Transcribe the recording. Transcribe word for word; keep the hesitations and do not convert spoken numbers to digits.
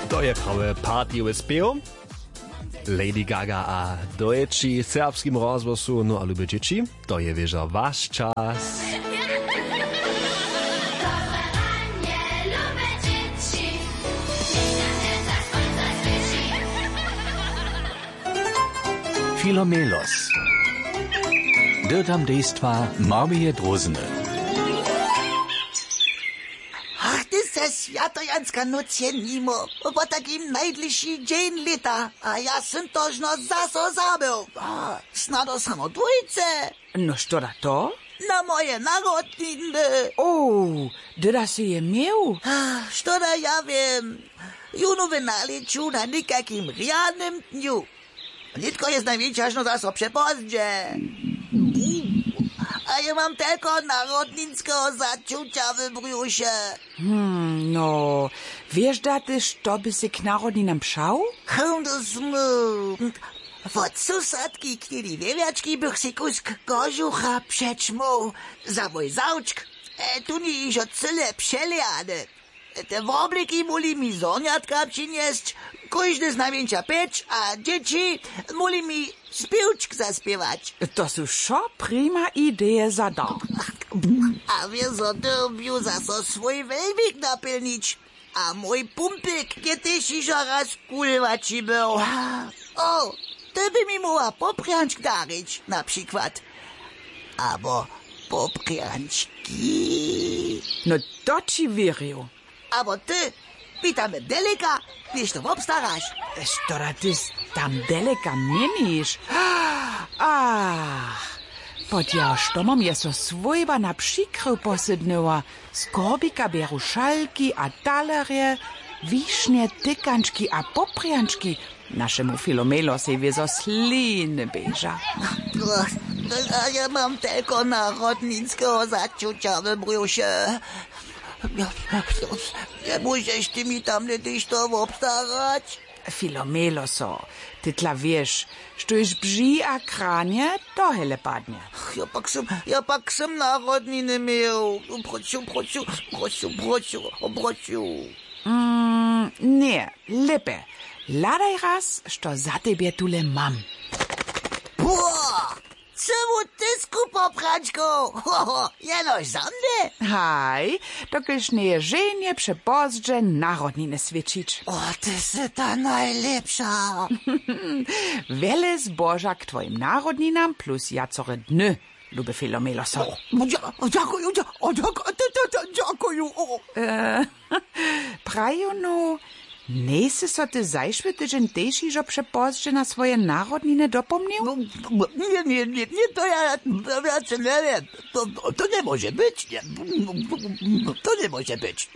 To je prawy partyjowy spěw. Lady Gaga a dojči w serbskim rozhłosu. No a lube dźěći, to je wěžo waš čas. Filomelos. Dyrtam dejstwa Marmije Drózny. Ach, ty se swjatojanska nóc je nimo. Po takim najdlěši dźeń lěta a ja sym to žno zaso zabył. Snado samo dwójce. No što da to? Na moje narodniny. O, dyda sy je měł? Što da ja wěm? Jónu w nalěću na někakim rjanym dnju. Nětko je znajmjeńša žno zaso přepozdźe. A ja mam telko narodninskeho začuća w brjuše. Hmm, no, wěš da ty što by sy k narodninam přał? Hymdesmu. Wot susadki knili wěwjački bych si kusk kožucha přećmoł za mój zawčk. Tuni hižo cyle přelejane. Te wobliki móhli mi zhornjatka přinjesć. Kóždy znajmjeńša pjeć a dźěći móhli mi spěwčk zaspěwać. To su wšo prima ideje za dar. A wězo dyrbju zaso swój wejbik napjelnić. A mój pumpik je tež hižo raz kulwaći był. O, ty by mi móhła poprjančk darić na přikład. Abo poprjančki. No, to ći wěrju. Abo ty mi tam deleka něšto wobstaraš. Što da ty tam deleka měniš? Ach, pod jeho štomom je so swójba na přikryw posydnyła. Z korbika bjeru šalki a talerje, wišnje, tykančki a poprjančki. Našemu filomelo sej wězo sliny běža. A ja mam telko narodninskeho začuća w brjuše. Njemóžeš ty mi tamle tež to wobstarać? Filomelo so, ty tla wěš, štóž bži a kranje, to hele padnje. Ja pak sym ja pak sym narodniny měł. Proću proću proću proću proću. Mm, ně, lěpje. Hladaj raz, što za tebje tule mam. Pło, cyłu tysku poprančkow. Jenož za mnje? Haj, dokelž njeje ženje přepozdźe narodniny swětšić. O, ty sy ta najlěpša. Wjele zboža k twojim narodninam plus wjacore dny, luby filomelo so. Dźakuju. Dźakuju. Praju no. Njejsy so ty zašły tydźeń tež hižo přepozdźe na swoje narodniny dopomnił? Ně ně ně ně to ja wjace njewěm. To to njemóže być. To njemóže być.